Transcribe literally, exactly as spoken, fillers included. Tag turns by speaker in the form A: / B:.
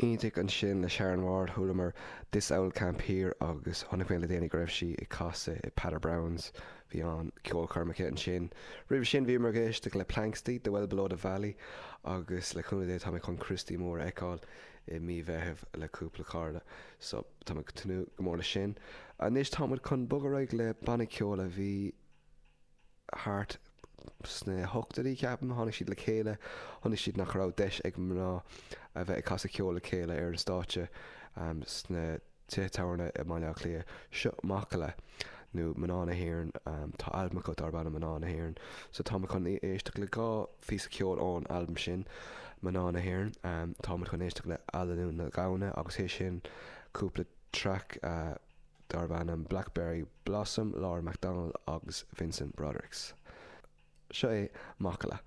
A: Iontach ansin le Sharon Ward chualamar This Owl Camp Here agus chonaic mé le déanaí go raibh sí ag casadh i Peadar Browns bhí an ceolchoirm aici ansin. Roimhe sin bhíomar ag éisteacht le Planxty, The Well Below the Valley agus le cúnamh Dé tá mé chun Christy Moore a fheiceáil i mí Mheithimh le cúpla cara so tá mé ag tnúth go mór leis sin. Anois táimid chun bogadh ar aghaidh le banna ceoil a bhí thart sna hochtóidí ceapaim tháinig siad le chéile chonaic siad nach raibh deis ag mná a bheith ag casadh ceoil le chéile ar an stáitse um, sna tithe tábhairne i mBaile Átha Cliath seo Macalla nó mná na hÉireann um, tá albam acu darb ainm mná na hÉireann so tá chun éisteacht le dhá phíosa ceoil ón albam sin mná na hÉireann um, tá chun éisteacht le Alannú na Gamhna agus é sin cúpla track uh, darb ainm Blackberry Blossom, Laura McDonald agus Vincent Broderick's. Seo é Macalla.